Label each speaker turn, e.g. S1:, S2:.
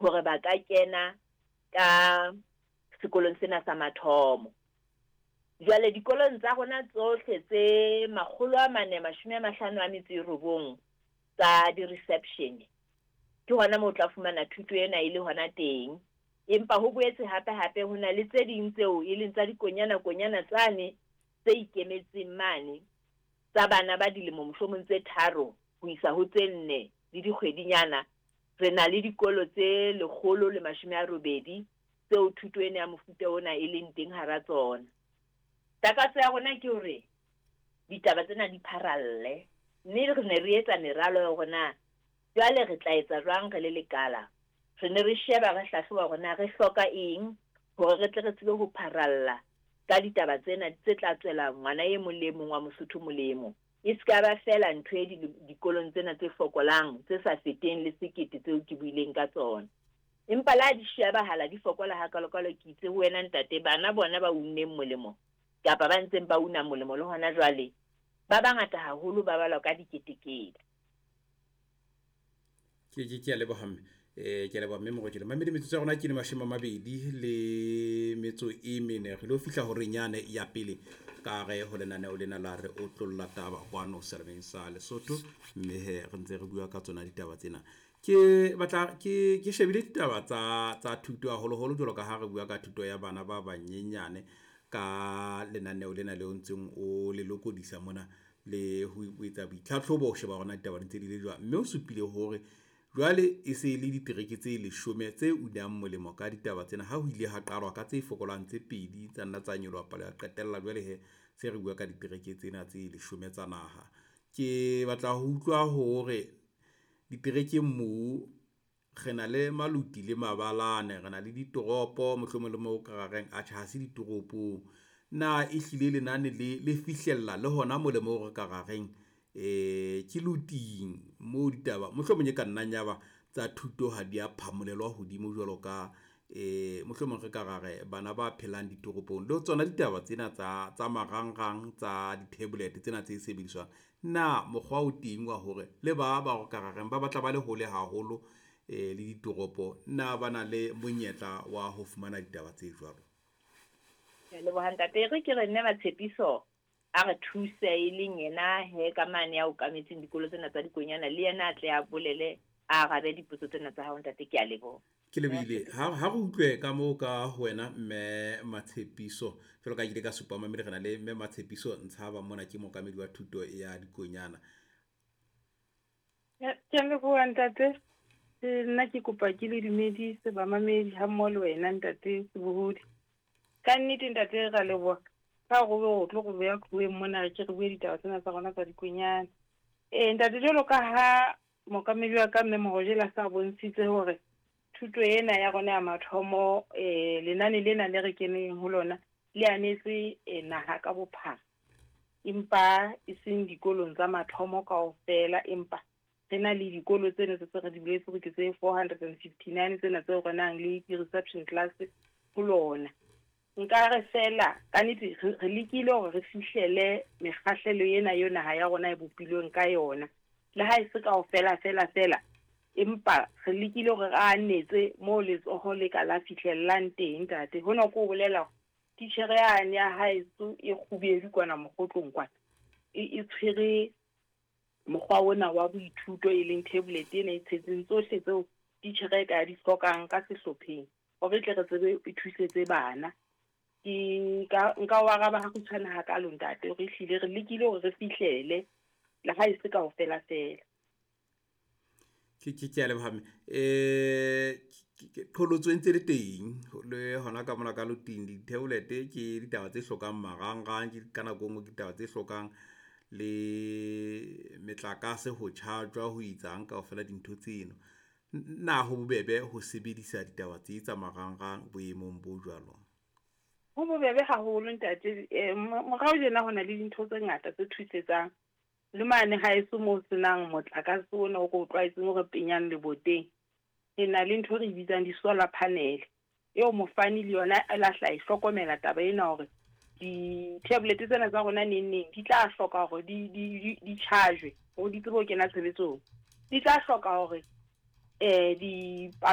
S1: hore ba ka kena ka sekolong sena sa mathomo. Jwale dikolong tsa rona tsohle tse 459 tsa di-reception, ke hona moo o tla fumana thuto ena e le hona teng. Empa ho boetse hape-hape ho na le tse ding tseo e leng tsa dikonyana-konyana tsane tse ikemetseng mane tsa bana ba dilemo mohlomong tse tharo ho isa ho tse nne le dikgwedinyana. Re na le dikolo tse 180 tseo thuto ena ya mofuta ona e leng teng hara tsona. Takatso ya rona ke hore ditaba tsena di pharalle, mme re ne re etsa meralo ya hore na jwale re tla etsa jwang re le lekala. Re ne re sheba, re hlahloba hore na re hloka eng hore re tle re tsebe ho pharalla ka ditaba tsena tse tla tswela ngwana e mong le e mong wa Mosotho molemo. E se ka ba feela ntho e dikolong tsena tse fokolang, tse sa feteng le sekete tseo ke buileng ka tsona. Empa le ha di shebahala di fokola hakalokalo, ke itse ho wena ntate, bana bona ba unneng molemo kapa ba ntseng ba una molemo le hona jwale, ba bangata haholo, ba balwa ka diketekete.
S2: Ke a leboha mme. Ke a leboha mme Morojele. Mamedi metsotso ya rona ke le 24. Re lo fihla horeng yane ya pele ka re ho lenaneo lena la re otlolla taba kwano serabeng sa Lesotho, mme he re ntse re bua ka tsona ditaba tsena. Ke batla ke shebile ditaba tsa thuto haholoholo jwalo ka ha re bua ka thuto ya bana ba banyenyane ka lenaneo lena leo ntseng o le lokodisa mona le ho etsa boitlhatlhobo ho sheba hore na ditaba di ntse di le jwang, mme o supile hore jwale e se le ditereke tse 10 tse unang molemo ka ditaba tsena. Ha ho ile ha qalwa ka tse fokolang tse pedi tsa nna tsa nyoloha palo ya qetella, jwale he se re bua ka ditereke tsena tse 10 tsa naha. Ke batla ho utlwa hore diterekeng moo re na le maluti le mabalane, re na le ditoropo mohlomong le mo ka reng atjhe ha se ditoropong. Na ehlile lenane le fihlella le hona mo le mo re ka ra reng ke loting moo ditaba mohlomong e ka nnang ya ba tsa thuto ha di a phamolelwa hodimo jwalo ka mohlomong re ka ra re bana ba phelang ditoropong le tsona ditaba tsena tsa marangrang tsa di-tablet tsena tse sebediswang. Na mokgwa o teng wa hore le ba ba ka ra reng ba batla ba le hole haholo le ditoropo, na ba na le monyetla wa ho fumana ditaba tse jwalo?
S1: Ke a leboha ntate. E re ke re nne Matshepiso a re thuse, e leng yena he ka mane ya okametseng dikolo tsena tsa dikonyana, le yena a tle a bolele, a arabe dipotso tsena tsa hao ntate. Ke a leboha.
S2: Ke lebohile. Ha re utlwe ka moo ka ho wena mme Matshepiso. Jwalo ka ke ile ka supa mamedi, re na le mme Matshepiso Ntshaba mona, ke mookamedi wa thuto ya dikonyana.
S3: Ke a leboha ntate. Nna ke kopa ke le dumedise bamamedi ha mmoho le wena ntate Sebohodi. Ka nnete ntate ra leboha ka hore o tlo re beha qhoweng mona, re ke re bue ditaba tsena tsa rona tsa dikonyana. Ntate, jwalo ka ha mookamedi wa ka mme Morojele a sa bontshitse hore thuto ena ya rona ya mathomo, lenane lena le re keneng ho lona le anetse naha ka bophara, empa e seng dikolong tsa mathomo kaofela, empa re na le dikolo tsena tse re di boletse hore ke tse 459 tsena tseo re nang le di-reception class ho lona. Nka re fela ka nnete re lekile hore re fihlele mekgahlelo ena eo naha ya rona e bopilweng ka yona, le ha e se kaofela fela fela, empa re lekile hore re anetse moo letsoho le ka la fihlellang teng ntate. Hona ke ho bolela hore titjhere yane ya haeso e kgubedu kwana mokgotlong kwana e tshwere mokgwa ona wa boithuto, e leng tablet ena e tshetseng tsohle tseo titjhere e ka di hlokang ka sehlopheng hore tle re tsebe e thusetse bana. Ke nka o araba ha kgutshwane hakalo ntate, hore ehlile re lekile hore re fihlele le ha e se kaofela fela.
S2: Ke a leboha mme. Qholotso e ntse le teng le hona ka mona ka loting, di-tablet ke ditaba tse hlokang marangrang, ke ka nako e nngwe ke ditaba tse hlokang le metlakase ho charge-wa ho etsang kaofela dintho tseno. Na ho bobebe ho sebedisa ditaba tse tsa marangrang boemong bo jwalo?
S3: Ho bobebe haholo ntate. Morao tjena ho na le dintho tse ngata tse thusetsang. Le mane haeso moo senang motlakase ona o re o tlwaetseng o re penyang leboteng, re na le ntho e re bitsang di-solar panel, eo mofani le yona a la hla e hlokomela taba ena hore di-tablet tsena tsa rona neng neng di tla hloka hore di charge hore di tsebe ho kena tshebetsong. Di tla hloka hore di